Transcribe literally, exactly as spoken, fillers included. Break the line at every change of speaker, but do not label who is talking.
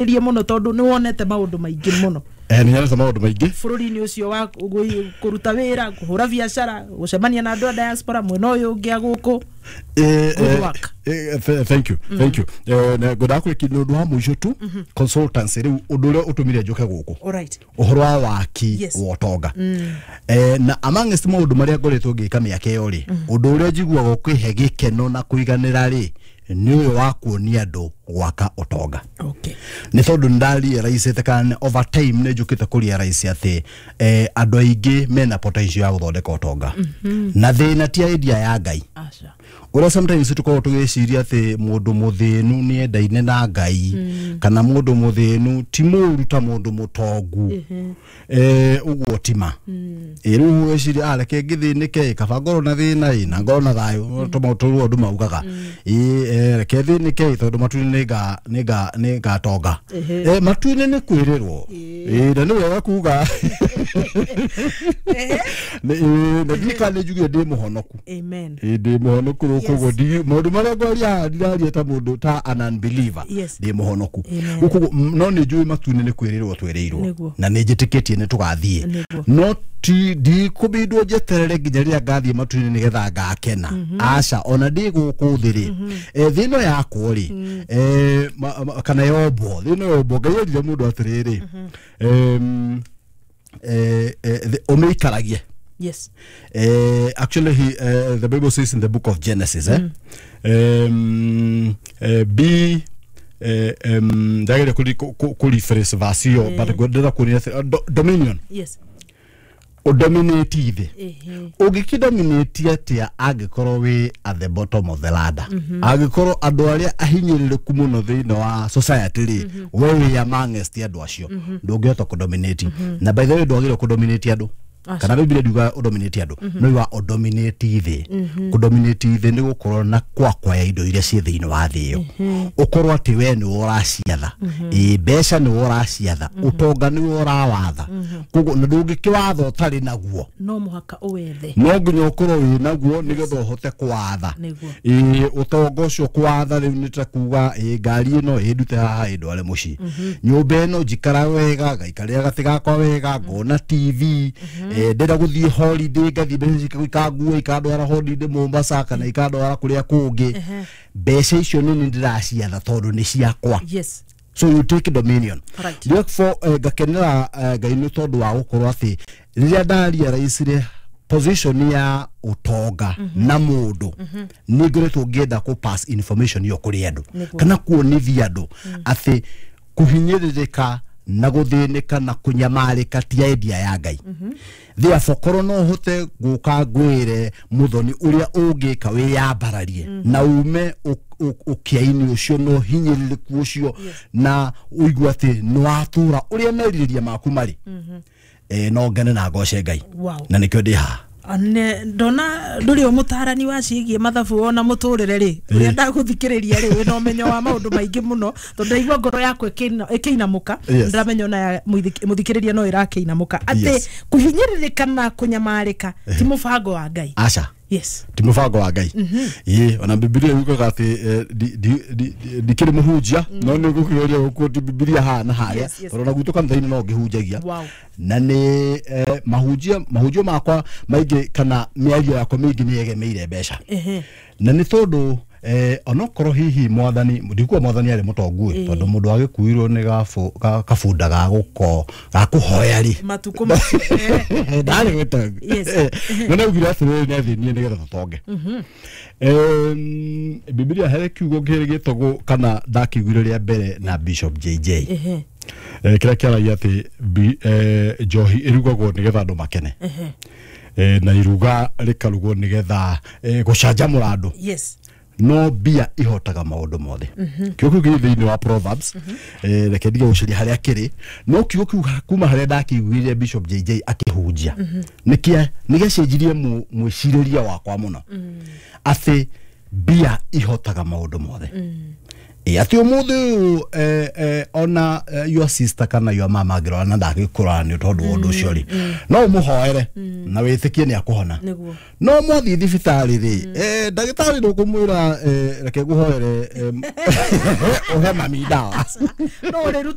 Rie muno tondu ni wonete maundu maingi muno.
Eh, nĩ nyonete maũndũ maingĩ
bũrũri-inĩ ũcio wa gũ- kũruta wĩra, kũhũra biacara, gũcemania na andũ a diaspora mwena ũyũ ũngĩ a gũkũ.
Eh,
Good
eh,
work.
eh, th- thank you, thank you. Eh, na ngwendaga kũrĩkia nĩ ũndũ wa mũico tu, consultancy. Rĩu ũndũ ũrĩa ũtũmire njũke gũkũ,
Alright.
ũhoro wa waki
Yes.
wa ũtonga, eh, na amongst maũndũ marĩa ngoretwo ngĩka mĩaka ĩyo rĩ, ũndũ ũrĩa njiguaga ũkĩhe gĩkeno na kũiganĩra rĩ, nĩ ũyũ wa kuonia andũ gwaka ũtonga.
Okay.
Nĩ tondũ nĩ ndarealize kana over time nĩ njũkĩte kũrealize atĩ eh, andũ aingĩ mena potential ya gũthondeka ũtonga, na thĩna ti idea ya Ngai.
Aca.
Ũrĩa sometimes tũkoragwo tũgĩciria atĩ mũndũ mũthĩnu nĩ endaine na Ngai, kana mũndũ mũthĩnu ti mũru ta mũndũ mũtongu, eh, ũguo tima. Ĩ rĩu weciria, ah, reke ngĩthĩnĩke, kaba ngorwo na thĩna ĩ na ngorwo na thayũ. Tũmaũndũ tũrĩa andũ maugaga ĩ, eh, reke thĩnĩke ĩ, tondũ matu-inĩ nĩnga nĩnga nĩngatonga. Eh, matu-inĩ nĩ kwĩrĩrwo ĩ, na nĩ wega kuga. Nĩ- ĩ, na ndirikana nĩ njugire ndĩ mũhonoku.
Amen.
Ĩ, ndĩ mũhonoku rĩu.
Yes.
Koguo ndi- maũndũ marĩa ngwaria haha ndiraria ta mũndũ ta an unbeliever.
Yes.
Ndĩ mũhonoku.
Amen.
Rĩu koguo m- no nĩ njũĩ matu-inĩ nĩ kwĩrĩrwo twĩrĩirwo.
Nĩguo.
Na nĩ njĩtĩkĩtie nĩ tũgathiĩ.
Nĩguo.
No ti ndikũbindwo njeterere nginya rĩrĩa ngathiĩ matu-inĩ nĩgetha ngakena, aca. Ona ndĩ gũkũ thĩ rĩ, eh, thĩ ĩno yakwo rĩ, eh, ma- ma- kana yombwo, thĩ ĩno yombwo, Ngai erire mũndũ atĩrĩrĩ, em, eh, eh, thĩ- ũmĩikaragie.
Yes.
Uh, actually, he, uh, the Bible says in the book of Genesis, eh? um, uh, be uh, um, ndageria kũ kũ- kũ rephrase verse ĩyo, but ngwendera kuonia atĩ, uh, do- dominion,
Yes.
ũdominate thĩ.
Ehe.
Ũngĩkĩdominate atĩa angĩkorwo wĩ at the bottom of the ladder, angĩkorwo andũ arĩa ahinyĩrĩrĩku mũno thĩinĩ wa society rĩ, we wĩ amongst andũ acio? Ndũngĩhota kũdominate. Na by the way, ndwagĩrĩirwo kũdominate andũ.
Aca.
Kana Biblia ndiuga ũdominate andũ, no iwa ũdominate thĩ. Kũdominate thĩ nĩ gũkorwo na kwakwaya indo iria ciĩ thĩinĩ wa thĩ ĩyo, ũkorwo atĩ we nĩwe ũraciatha. Ĩ, mbeca nĩwe ũraciatha, ũtonga nĩwe ũrawatha. Koguo na ndũngĩkĩwatha ũtarĩ naguo.
No mũhaka ũwethe.
No nginya ũkorwo wĩ naguo nĩgetha ũhote kwatha.
Nĩguo.
Ĩ, ũtonga ũcio kwatha rĩu nĩ ta kuga, ĩ, ngari ĩno ĩndute haha ĩndware mũciĩ, nyũmba ĩno njikara wega, ngaikarĩra gatĩ gakwa wega, ngona T V, eh, ndĩrenda gũthiĩ holiday, ngathiĩ, mbeca ikangua ikandwara holiday Mombasa kana ikandwara kũrĩa kũngĩ. Mbeca icio nĩ niĩ ndĩraciatha tondũ nĩ ciakwa.
Yes.
So you take dominion.
Right.
Therefore, eh, ngakenera eh, Ngai nĩ tondũ wa gũkorwo atĩ rĩrĩa ndarealize position ya ũtonga na mũndũ, nĩ ngoretwo ngĩenda kũ pass information ĩyo kũrĩ andũ,
Nĩguo.
kana kuonithia andũ atĩ kũhinyĩrĩrĩka na gũthĩnĩka na kũnyamarĩka ti idea ya Ngai. Therefore, korwo no hote gũka ngwĩre mũthoni ũrĩa ũngĩka wĩyambararie na ume ũ- ũ- ũkĩa-inĩ ũcio na ũhinyĩrĩrĩku ũcio, na ũigue atĩ nĩ watũra ũrĩa merirĩria maku marĩ, eh, no ngene na ngoce Ngai.
Wow.
Na nĩkĩo ndĩ haha.
Ne ndona ndũrĩ o mũtarani wa ciĩgiĩ mathabu ona mũtũrĩre rĩ, ũrĩa ndagũthikĩrĩria rĩ, wĩna ũmenyo wa maũndũ maingĩ mũno, tondũ ndaigua ngoro yakwa ĩkĩina- ĩkĩinamũka.
Yes.
Ndĩramenya ona ya mũithik- mũthikĩrĩria no ĩrakĩinamũka atĩ
Yes.
kũhinyĩrĩrĩka na kũnyamarĩka ti mũbango wa Ngai.
Aca.
Yes.
Ti mũbango wa Ngai. Ĩ, ona Bibilia yugaga atĩ eh, ndi- ndi- ndi- ndikĩrĩ mũhunjia, no nĩ ngũkĩgeria gũquote Bibilia haha na harĩa,
Yes, yes.
tondũ ona gwitũ kanitha-inĩ no ngĩhunjagia.
Wow.
Na nĩ eh, mahunjia mahunjio makwa maingĩ kana mĩario yakwa mĩingĩ nĩ yegemeire mbeca.
Ehe.
Na nĩ tondũ eh, onokorwo hihi mwathani, ndikuga mwathani arĩ mũtongu ĩ, tondũ mũndũ agĩkuirwo nĩ gabu- ga- kabunda ga gũko ga kũhoya rĩ,
matukũ macio, eh.
ndarĩ mũtongu.
Yes.
No naugire atĩrĩrĩ, nĩ athĩnire nĩgetha tũtonge. Em, Bibilia he kiugo gĩtagwo, kana ndakĩiguire rĩa mbere na Bishop J J,
Ehe.
eh, kĩrĩa kĩaragia atĩ bi- eh, njohi ĩrugagwo nĩgetha andũ makene,
Ehe.
eh, na iruga rĩkarugwo nĩgetha eh, gũcanjamũra andũ,
Yes.
no mbia ihotaga maũndũ mothe. Kiugo kĩu kĩrĩ thĩinĩ wa Proverbs. eh, reke ndige gũcaria harĩa kĩrĩ, no kiugo kĩu kuma harĩa ndakĩiguire Bishop J J akĩhunjia, nĩkĩa nĩgĩacenjirie mũ- mwĩcirĩrie wakwa mũno, atĩ mbia ihotaga maũndũ mothe. Ĩ atĩ ũmũthĩ ũyũ eh, eh, ona eh, your sister kana your mama angĩrora na ndangĩkũrora nĩ tondũ wa ũndũ ũcio rĩ, no ũmũhoere na wĩtĩkie nĩ akũhona.
Nĩguo.
No mwathiĩ thibitarĩ rĩ, eh, ndagĩtarĩ ndũkũmwĩra eh, reke ngũhoere, em, ũhe mami ndawa.
No ũrĩruta.